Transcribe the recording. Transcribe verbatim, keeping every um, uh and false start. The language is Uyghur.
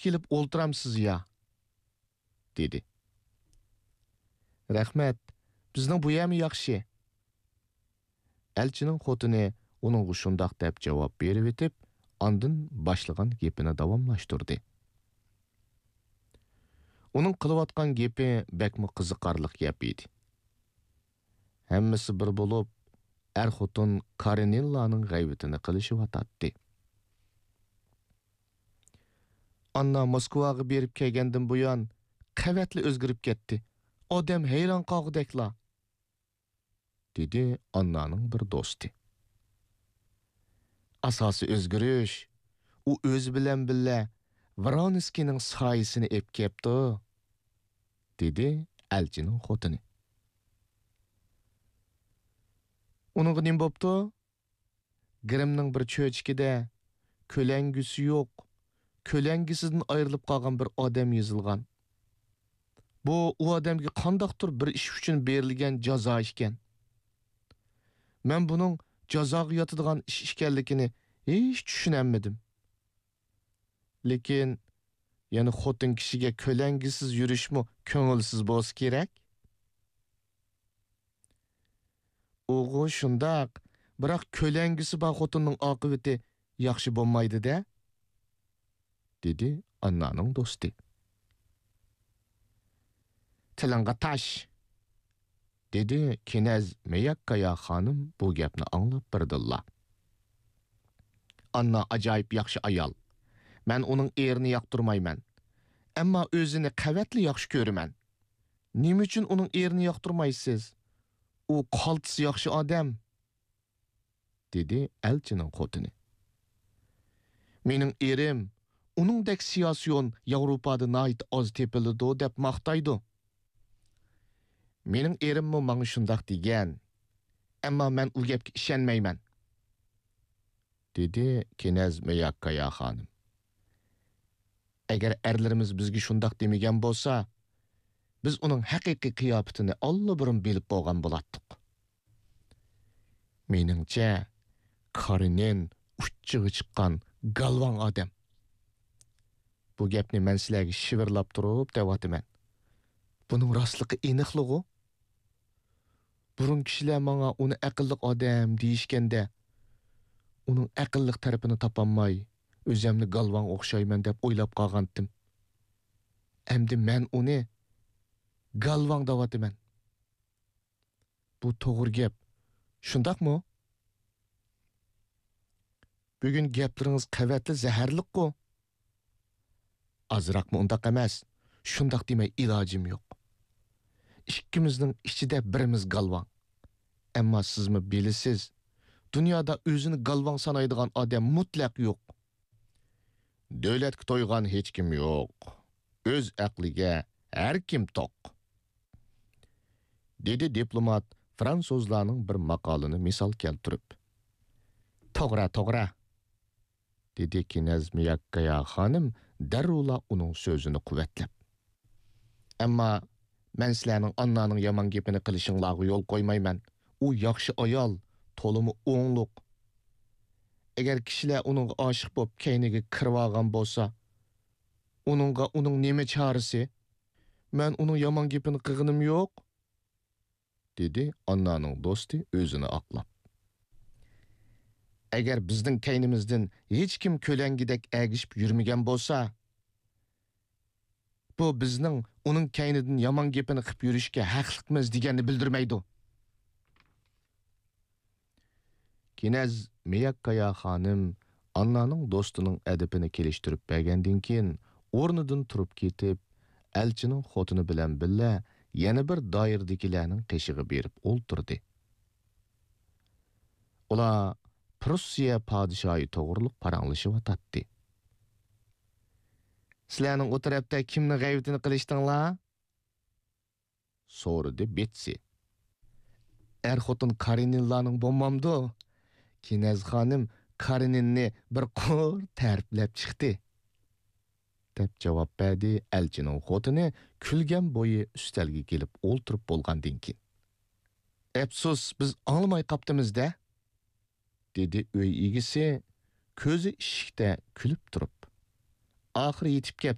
كېلىپ ئولتۇرامسىز يا؟» دېدى. «رەھمەت، بىزنىڭ بۇ يەرمۇ ياخشى.» ئەلچىنىڭ خوتۇنى ئۇنىڭغا شۇنداق دەپ جاۋاب بېرىۋېتىپ، ئاندىن باشلىغان گېپىنى داۋاملاشتۇردى. ئۇنىڭ قىلىۋاتقان گېپى بەكمۇ قىزىقارلىق گەپ ئىدى. ھەممىسى بىر بولۇپ، ئەر-خوتۇن كارېنىنلارنىڭ غەيۋىتىنى قىلىشىۋاتاتتى. «ئاننا موسكۋاغا بېرىپ كەلگەندىن بۇيان، قەۋەتلا ئۆزگىرىپ كەتتى. ئادەم ھەيران قالغۇدەكلا.» دېدى ئاننانىڭ بىر دوستى. «ئاساسىي ئۆزگىرىش، ئۇ ئۆزى بىلەن بىللە ۋرونسكىينىڭ سايىسىنى ئېلىپ كەپتۇ.» دېدى ئەلچىنىڭ خوتۇنى. «ئۇنىڭغا نېمە بوپتۇ؟» گىرىمنىڭ بىر چۆچىكىدە كۆلەڭگىسى يوق، كۆلەڭگىسىدىن ئايرىلىپ قالغان بىر ئادەم يېزىلغان. بۇ ئۇ ئادەمگە قانداقتۇر بىر ئىش ئۈچۈن بېرىلگەن جازا ئىكەن. مەن بۇنىڭ جازاغا ياتىدىغان ئىش ئىكەنلىكىنى ھېچ چۈشىنەلمىدىم. لېكىن يەنە خوتۇن كىشىگە كۆلەڭگىسىز يۈرۈشمۇ كۆڭۈلسىز بولسا كېرەك. ئۇغۇ شۇنداق، بىراق كۆلەڭگىسى بار خوتۇننىڭ ئاقىۋىتى ياخشى بولمايدۇ-دە، دېدى ئاننانىڭ دوستى. تىلىڭغا تاش، دېدى كىنەز مىياككايا خانىم بۇ گەپنى ئاڭلاپ بىردىنلا. ئاننا ئاجايىپ ياخشى ئايال. مەن ئۇنىڭ ئېرىنى ياقتۇرمايمەن. ئەمما ئۆزىنى قەۋەتلا ياخشى كۆرىمەن. نېمە ئۈچۈن ئۇنىڭ ئېرىنى ياقتۇرمايسىز؟ ئۇ قالتىس ياخشى ئادەم، دېدى ئەلچىنىڭ خوتۇنى. مېنىڭ ئېرىم ئۇنىڭدەك سىياسىيون ياۋروپادا ناھايىتى ئاز تېپىلىدۇ دەپ ماختايدۇ. مېنىڭ ئېرىممۇ ماڭا شۇنداق دېگەن. ئەمما مەن ئۇ گەپكە ئىشەنمەيمەن، دېدى كىنەز مىياككايا خانىم. ئەگەر ئەرلىرىمىز بىزگە شۇنداق دېمىگەن بولسا، بىز ئۇنىڭ ھەقىقىي قىياپىتىنى ئاللىبۇرۇن بىلىپ بولغان بولاتتۇق. مېنىڭچە، كارېنىن ئۇچچىغا چىققان گالۋاڭ ئادەم. بۇ گەپنى مەن سىلەرگە شىۋىرلاپ تۇرۇپ دەۋاتىمەن. بۇنىڭ راستلىقى ئېنىقلىغۇ. بۇرۇن كىشىلەر ماڭا ئۇنى ئەقىللىق ئادەم دېيىشكەندە، ئۇنىڭ ئەقىللىق تەرىپىنى تاپالماي، ئۆزەمنى گالۋاڭ ئوخشايمەن دەپ ئويلاپ قالغانتىم. ئەمدى مەن ئۇنى گالۋاڭ دەۋاتىمەن. بۇ توغرا گەپ، شۇنداقمۇ؟ بۈگۈن گەپلىرىڭىز قەۋەتلا زەھەرلىكقۇ. ئازراقمۇ ئۇنداق ئەمەس، شۇنداق دېمەي ئىلاجىم يوق. ئىككىمىزنىڭ ئىچىدە بىرىمىز گالۋاڭ. ئەمما سىزمۇ بىلىسىز، دۇنيادا ئۆزىنى گالۋاڭ سانايدىغان ئادەم مۇتلەق يوق. دۆلەتكە تويغان ھېچكىم يوق. ئۆز ئەقلىگە ھەر كىم توق. دېدى دىپلومات فرانسۇزلارنىڭ بىر ماقالىنى مىسال كەلتۈرۈپ. توغرا، توغرا، دېدى كىنەز مىياككايا خانىم دەررۇلا ئۇنىڭ سۆزىنى قۇۋۋەتلەپ. ئەمما مەن سىلەرنىڭ ئاننانىڭ يامان گېپىنى قىلىشىڭلارغا يول قويمايمەن. ئۇ ياخشى ئايال، تولىمۇ ئوڭلۇق. ئەگەر كىشىلەر ئۇنىڭغا ئاشىق بولۇپ كەينىگە كىرىۋالغان بولسا، ئۇنىڭغا ئۇنىڭ نېمە چارىسى؟ مەن ئۇنىڭ يامان گېپىنى قىلغىنىم يوق، دېدى ئاننانىڭ دوستى ئۆزىنى ئاقلاپ. ئەگەر بىزنىڭ كەينىمىزدىن ھېچكىم كۆلەڭگىدەك ئەگىشىپ يۈرمىگەن بولسا، بۇ بىزنىڭ ئۇنىڭ كەينىدىن يامان گېپىنى قىپ يۈرۈشكە ھەقلىقمىز دېگەننى بىلدۈرمەيدۇ. كىنەز مىياككايا خانىم ئاننانىڭ دوستىنىڭ ئەدىپىنى كېلىشتۈرۈپ بەرگەندىن كېيىن، ئورنىدىن تۇرۇپ كېتىپ، ئەلچىنىڭ خوتۇنى بىلەن بىللە يەنە بىر دائىرىدىكىلەرنىڭ قېشىغا بېرىپ ئولتۇردى. ئۇلار پروسسىيە پادىشاھى توغرۇلۇق پاراڭلىشىۋاتاتتى. سىلەرنىڭ ئۇ تەرەپتە كىمنىڭ غەيۋىتىنى قىلىشتىڭلار؟ سورىدى بېتسى. ئەر-خوتۇن كارېنىنلارنىڭ بولمامدۇ؟ كىنەز خانىم كارېنىننى بىر قۇر تەرىپلەپ چىقتى، دەپ جاۋاب بەردى ئەلچىنىڭ خوتۇنى كۈلگەن بويى ئۈستەلگە كېلىپ ئولتۇرۇپ بولغاندىن كېيىن. ئەپسۇس، بىز ئاڭلىماي قاپتىمىز-دە، دېدى ئۆي ئىگىسى كۆزى ئىشىكتە كۈلۈپ تۇرۇپ. ئاخىرى يېتىپ كەپتۇ.